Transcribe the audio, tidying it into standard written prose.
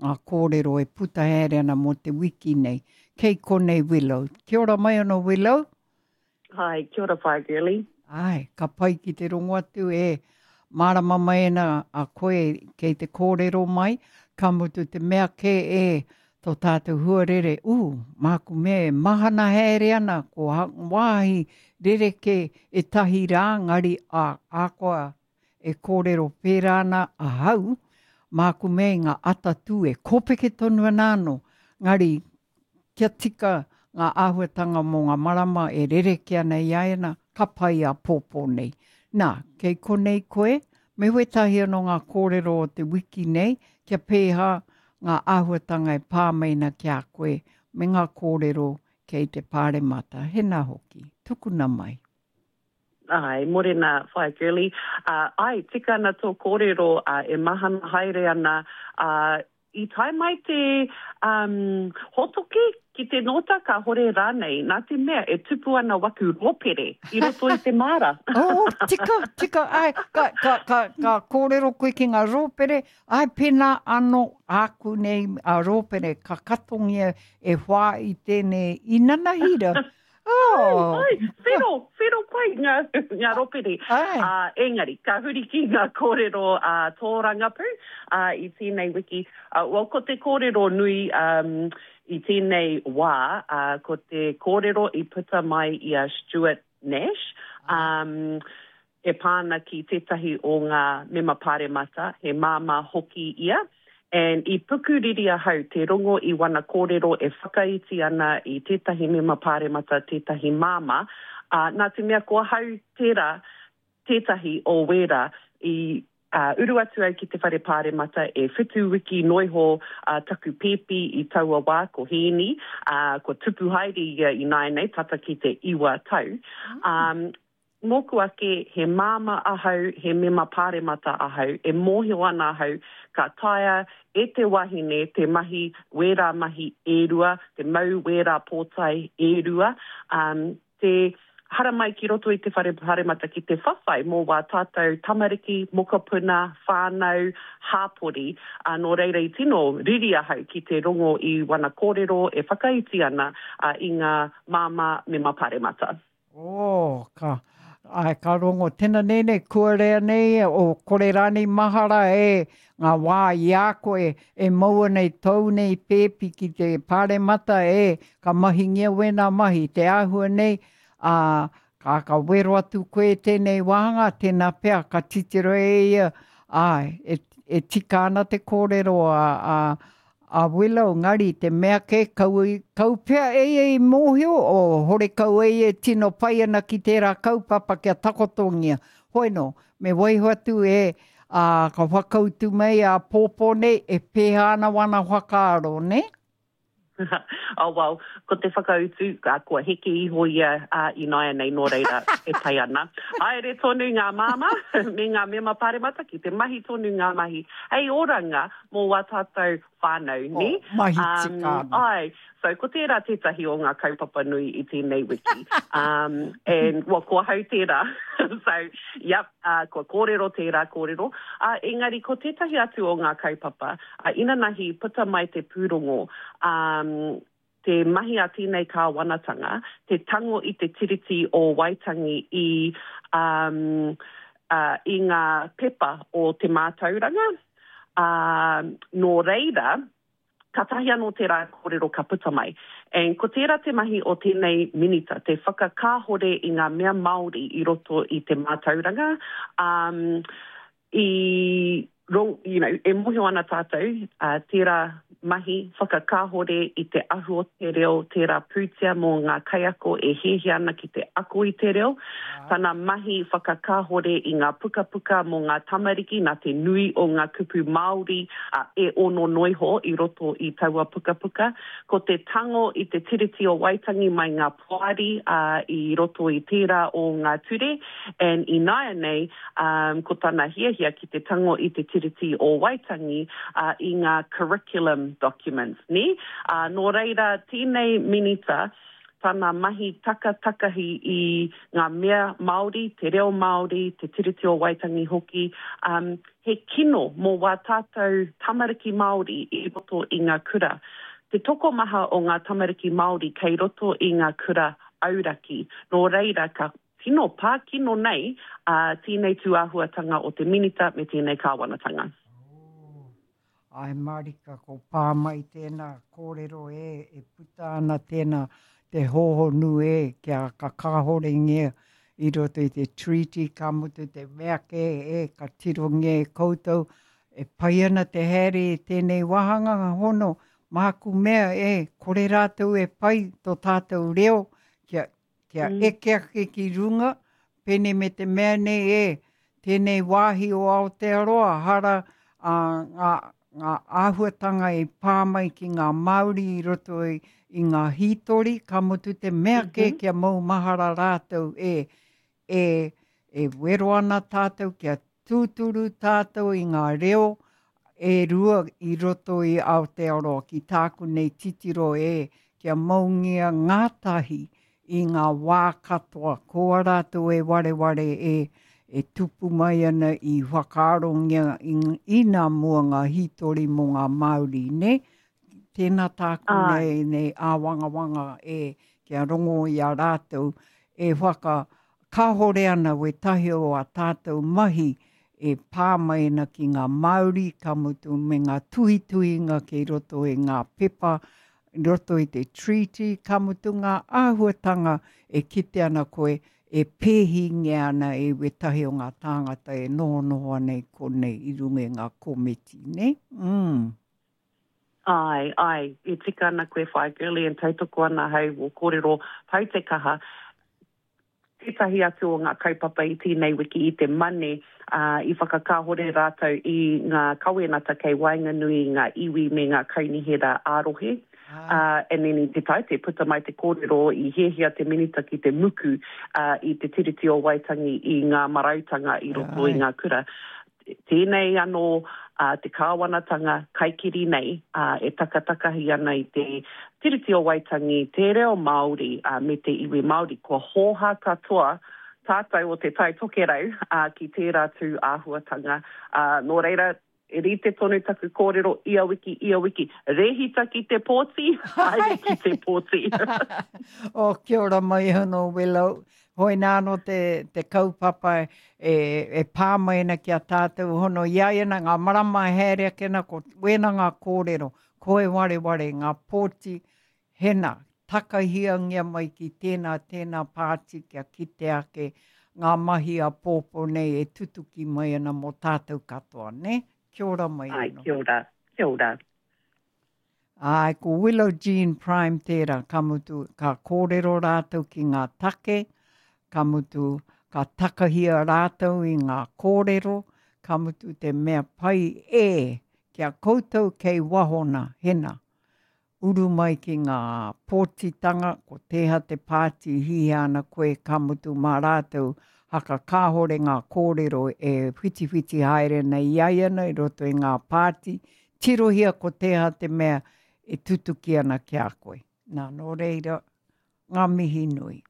Ngā kōrero e puta haere ana mō te wiki nei. Kei konei Willow. Kia ora mai anō Willow. Hi, kia ora Whaea Girlie. Āe, ka pai ki te rongo atu e mārama mai ana a koe kei te kōrero mai, ka mutu te mea kē e tō tātou huarere, ū, māku mea e mahana haere ana ko wāhi rerekē ētahi rā ngari ā, ahakoa E kōrero pērā ana ahau, māku mea i ngā atatū e kōpeke tonu ana anō, ngari kia tika ngā āhuatanga mō ngā marama e rerekē ana i a ēnā, ka pai āpōpō nei. Nā, kei konei koe, me wētahi anō ngā kōrero o te wiki nei, kia pēhā ngā āhuatanga e pā mai ana ki a koe, me ngā kōrero kei te Pāremata. Hēnā hoki, tukuna mai. Āe, morena Whaea Girlie. Āe, tika ana tō kōrero, e mahana haere ana, ā, i tae mai te, um, hōtoke ki te nōta kāhore rānei, nā te mea e tupu ana waku rōpere i roto i te māra. Oh, tika, tika, āe, ka, ka, ka, ka kōrero koe ki ngā rōpere, āe, pēnā anō āku nei a rōpere ka katongia e whā i tēnei inanahi ra. Oh. Ai, ai, whero, whero pai ngā, ngā ropere. Ai. Uh, engari, ka huri ki ngā kōrero uh, tōrangapū uh, i tēnei wiki. Uh, well, ko te kōrero nui um, i tēnei wā, uh, ko te kōrero i puta mai i a Stuart Nash. Um, e pā ana ki tētahi o ngā mema pāremata, he māmā hoki ia, and i pukuriri ahau te rongo i wana kōrero e whakaiti ana i tētahi mema pāremata, tētahi māmā, ā, nā te mea ko ahau tērā tētahi o wērā i uru atu au ki te whare pāremata e whitu wiki noiho taku pēpi i taua wā, ko Hēni, ā, kua tupu haere ia ināianei, tata ki te iwa tau. Ā, Mōku ake, he māmā ahau, he mema pāremata ahau, e mōhio ana ahau ka taea e te wahine te mahi wērā mahi e rua, te mau wērā pōtae e rua, te haramai ki roto i te whare pāremata ki te whawhai mō wā tātou tamariki, mokopuna, whānau, hāpori. Ā, nō reira i tino riri ahau ki te rongo i wana kōrero e whakaiti ana i ngā māmā mema pāremata. Oh, ka, ai, ka rongo tena nei nei, kua rea nei, o kore rānei mahara e ngā wā i a koe e mau ana i tōu nei pēpi ki te pāremata e, ka mahingia wēnā mahi, te āhua nei, ā, ka, ka wero atu koe tēnei wāhanga, tēnā pea ka titiro e ia, āe, e, e tika ana te kōrero a, a, A Willow, ngari te mea ke, kau, kau pea e ia i mōhio, o horekau e ia e tino pai ana ki tērā kaupapa kia takotongia. Hoi nō, me waiho atu e, ā, ka whakautu mai āpōpō nei, e pēhā ana wana whakaaro, nē? Oh well, ko te whakautu, kua heke iho ia ināianei, nō reira, e pai ana. Haere tonu ngā māmā me ngā mema pāremata ki te mahi tonu ngā mahi hei oranga mō wā tātou whānau, nē? Oh, mahi tika ana. Āe, so ko tērā tētahi o ngā kaupapa nui i tēnei wiki. Um, and, well, ko ahau tērā. so, yep, uh, kua kōrero tērā kōrero. Uh, engari, ko tētahi atu o ngā kaupapa, uh, inanahi puta mai te pūrongo, um, te mahi a tēnei kāwanatanga, te tango i te Tiriti o Waitangi i, um, uh, i ngā pepa o te mātauranga, ā, nō reira, kātahi anō tērā kōrero ka puta mai. And ko tērā te mahi o tēnei Minita, te whakakāhore i ngā mea Māori i roto i te mātauranga, um, i, you know, e mōhio ana tātou, uh, tērā mahi whakakāhore i te ahu o te reo, tērā pūtea mō ngā kaiako e hiahia ana ki te ako i te reo, tana mahi whakakāhore i ngā pukapuka mō ngā tamariki nā te nui o ngā kupu Māori uh, e ono noiho i roto i taua pukapuka, ko te tango i te Tiriti o Waitangi mai ngā poari uh, i roto i tērā o ngā ture, and ināianei, um, ko tana hiahia ki te tango i te Tiriti o Waitangi uh, i ngā curriculum documents, nē? Uh, nō reira, tēnei minita, tana mahi takatakahi i ngā mea Māori, te reo Māori, te Tiriti o Waitangi hoki, um, he kino mō wā tātou tamariki Māori i roto i ngā kura. Te tokomaha o ngā tamariki Māori kei roto i ngā kura auraki, nō reira ka tino pā kino nei ā tēnei tūāhuatanga o te Minita me tēnei Kāwanatanga. Oh, āe mārika ko pā mai tēnā kōrero e, e puta ana tēnā te hōhonu e kia ka kāhorengia i roto i te treaty ka mutu te mea kē e ka tirongia e koutou e pai ana te haere i tēnei wāhanga hono māku mea e kore rātou e pai tō tātou reo kia kia mm. eke ake ki runga, pēnei me te mea nei e, tēnei wāhi o Aotearoa, hara a, ngā, ngā āhuatanga i pā mai ki ngā Māori i roto i, i ngā hītori, ka mutu te mea kē mm -hmm. kia maumahara rātou e, e, e wero ana tātou kia tūturu tātou i ngā reo e rua i roto i Aotearoa ki tāku nei titiro e kia maungia ngātahi i ngā wā katoa ko a rātou e wareware e e tupu mai ana i whakaarongia i, i nā mua ngā hītori mō ngā Māori, nē? Tēnā tāku nei, nei āwangawanga e kia rongo i a rātou e whaka Kāhore ana wētahi o ā tātou mahi e pā mai ana ki ngā Māori, ka mutu me ngā tuhituhinga kei roto i ngā pepa, i roto i te Treaty, ka mutu ngā āhuatanga e kite ana koe e pēhingia ana e wētahi o ngā tāngata e nohonoho ana i konei i runga i ngā komiti, nē? Mm. Āe, āe, e tika ana koe Whaea Girlie e tautoko ana ahau wō kōrero pau te kaha. Tētahi atu o ngā kaupapa i tēnei wiki i te Mane, ā, i whakakāhore rātou i ngā kawenata kei waenganui i ngā iwi me ngā kaunihera ā-rohe. Ā, and then i te Taite, puta mai te kōrero i hiahia te Minita ki te muku, ā, i te Tiriti o Waitangi i ngā marautanga i roto i ngā kura. Tēnei anō te kāwanatanga kaikiri nei e takatakahi ana i te Tiriti o Waitangi, te reo Māori me te iwi Māori. Kua hōhā katoa tātou o Te Tai Tokerau ki tērā tū āhuatanga. Nō reira, e rite tonu taku kōrero ia wiki, ia wiki, rēhita ki te pōti, haere ki te pōti. Oh, kia ora mai anō, Willow. Hoi nā anō te, te kaupapa e, e pā mai ana ki a tātou hono i a ia nā ngā marama e haere ake ana ko wēnā ngā kōrero, ko e wareware ngā pōti, hena, takahiangia mai ki tēnā, tēnā pāti kia kite ake ngā mahi a pōpō nei e tutuki mai ana mō tātou katoa, nē? Kia ora mai anō. Ai, kia ora, kia ora. Āe, ko Willow Jean Prime tērā, ka mutu, ka kōrero rātou ki ngā take, ka mutu, ka takahia rātou i ngā kōrero, ka mutu te mea pai e, ki a koutou kei waho nā, hena, uru mai ki ngā pōtitanga, ko tēha te pāti hihia ana koe, ka mutu mā rātou, haka kāhore ngā kōrero e whitiwhiti haere ana i a ia ana i roto i ngā pāti, Tirohia ko tēha te mea e tutuki ana ki a koe. Nā, nō reira, ngā mihi nui.